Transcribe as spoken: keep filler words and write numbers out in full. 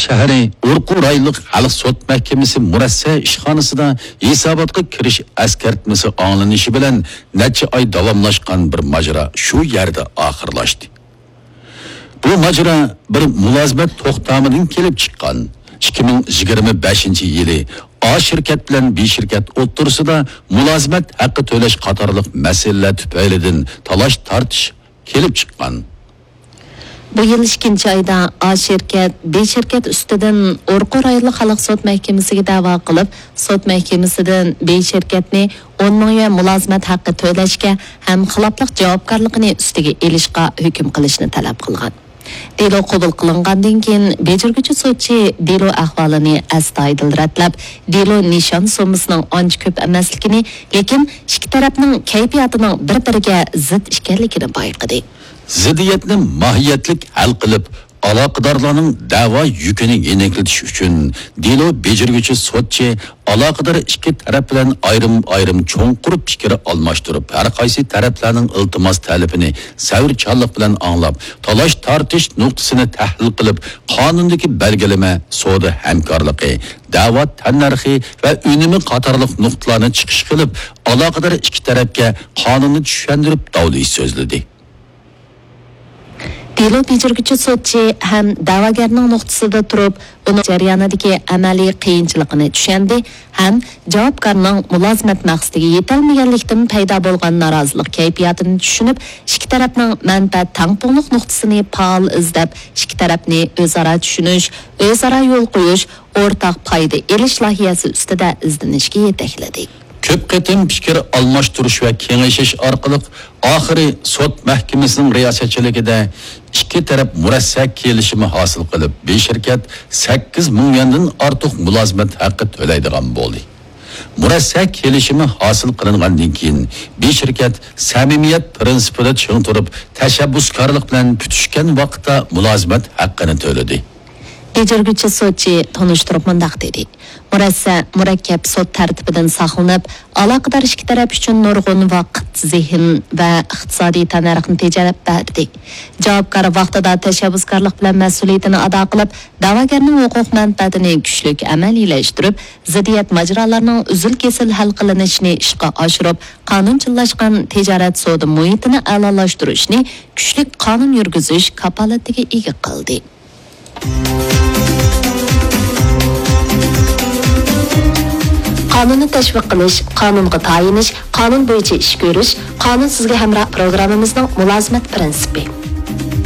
شەھىرى ئورقۇ رايونلۇق خەلق سوت مەھكىمىسى مۇرەسسە ئىشخانىسىدا ھېساباتقا كىرىش ئەسكەرتمىسى ئاڭلىنىشى بىلەن نەچچە ئاي داۋاملاشقان بىر ماجىرا شۇ يەردە ئاخىرلاشتى. بۇ ماجىرا بىر مۇلازىمەت توختامىدىن كېلىپ چىققان. ئىككى مىڭ يىگىرمە بەشىنچى يىلى ئا شىركەت بىلەن بى شىركەت ئوتتۇرىسىدا مۇلازىمەت ھەققى تۆلەش قاتارلىق مەسىلىلەر تۈپەيلىدىن تالاش-تارتىش كېلىپ چىققان. بۇ يىل ئىككىنچى ئايدا ئا شىركەت، بى شىركەت ئۈستىدىن ئورقۇ رايونلۇق خەلق سوت مەھكىمىسىگە دەۋا قىلىپ، سوت مەھكىمىسىدىن بى شىركەتنى ئون مىڭ يۈەن مۇلازىمەت ھەققى تۆلەشكە ھەم خىلاپلىق جاۋابكارلىقىنى ئۈستىگە ئېلىشقا ھۆكۈم قىلىشنى تەلەپ قىلغان. دېلو قوبۇل قىلىنغاندىن كېيىن، بېجىرگۈچى سوتچى دېلو ئەھۋالىنى ئەستايىدىل رەتلەپ، دېلو نىشان سوممىسىنىڭ ئانچە كۆپ ئەمەسلىكىنى، لېكىن ئىككى تەرەپنىڭ كەيپىياتىنىڭ بىر-بىرىگە زىت ئىكەنلىكىنى بايقىدى. زىددىيەتنى ماھىيەتلىك ھەل قىلىپ، ئالاقىدارلارنىڭ دەۋا يۈكىنى يېنىكلىتىش ئۈچۈن، دېلو بېجىرگۈچى سوتچى ئالاقىدار ئىككى تەرەپ بىلەن ئايرىم-ئايرىم چوڭقۇر پىكىر ئالماشتۇرۇپ، ھەر قايسى تەرەپلەرنىڭ ئىلتىماس تەلىپىنى سەۋرچانلىق بىلەن ئاڭلاپ، تالاش-تارتىش نۇقتىسىنى تەھلىل قىلىپ، قانۇندىكى بەلگىلىمە، سودا ھەمكارلىقى، دەۋا تەننەرخى ۋە ئۈنۈمى قاتارلىق نۇقتىلارنى چىقىش قىلىپ، ئالاقىدار ئىككى تەرەپكە قانۇننى چۈشەندۈرۈپ داۋلىشىش سۆزلىدى. دېلو بېجىرگۈچى سوتچى ھەم دەۋاگەرنىڭ نۇقتىسىدا تۇرۇپ، ئۇنىڭ جەريانىدىكى ئەمەلىي قىيىنچىلىقىنى چۈشەندى ھەم جاۋابكارنىڭ مۇلازىمەت مەقسىتىگە يېتەلمىگەنلىكتىن پەيدا بولغان نارازىلىق كەيپىياتىنى چۈشىنىپ، ئىككى تەرەپنىڭ مەنپەئەت تەڭپۇڭلۇق نۇقتىسىنى پائال ئىزدەپ، ئىككى تەرەپنى ئۆزئارا چۈشىنىش، ئۆزئارا يول قويۇش، ئورتاق پايدا ئېلىش لايىھەسى ئۈستىدە ئىزدىنىشكە يېتەكلىدى. كۆپ قېتىم پىكىر ئالماشتۇرۇش ۋە كېڭىشىش ئارقىلىق، ئاخىرى سوت مەھكىمىسىنىڭ رىياسەتچىلىكىدە ئىككى تەرەپ مۇرەسسە كېلىشىمى ھاسىل قىلىپ، بى شىركەت سەككىز مىڭ يۈەندىن ئارتۇق مۇلازىمەت ھەققى تۆلەيدىغان بولدى. مۇرەسسە كېلىشىمى ھاسىل قىلىنغاندىن كېيىن، بى شىركەت سەمىمىيەت پىرىنسىپىدا چىڭ تۇرۇپ، تەشەببۇسكارلىق بىلەن پۈتۈشكەن ۋاقىتتا مۇلازىمەت ھەققىنى تۆلىدى. بېجىرگۈچى سوتچى تونۇشتۇرۇپ مۇنداق دېدى: مۇرەسسە مۇرەككەپ سوت تەرتىپىدىن ساقلىنىپ، ئالاقىدار ئىككى تەرەپ ئۈچۈن نۇرغۇن ۋاقىت، زېھىن ۋە ئىقتىسادىي تەننەرخنى تېجەپ بەردى. جاۋابكار ۋاقتىدا تەشەببۇسكارلىق بىلەن مەسئۇلىيىتىنى ئادا قىلىپ، دەۋاگەرنىڭ ھوقۇق مەنپەئەتىنى كۈچلۈك ئەمەلىيلەشتۈرۈپ، زىددىيەت ماجىرالارنىڭ ئۈزۈل-كېسىل ھەل قىلىنىشىنى ئىشقا ئاشۇرۇپ، قانۇنچىللاشقان تىجارەت سودا مۇھىتىنى ئەلالاشتۇرۇشنى كۈچلۈك قانۇن يۈرگۈزۈش كاپالىتىگە ئىگە قىلدى. قانۇننى تەشۋىق قىلىش، قانۇنغا تايىنىش، قانۇن بويىچە ئىش كۆرۈش، قانۇن سىزگە ھەمراھ پروگراممىمىزنىڭ مۇلازىمەت پىرىنسىپى.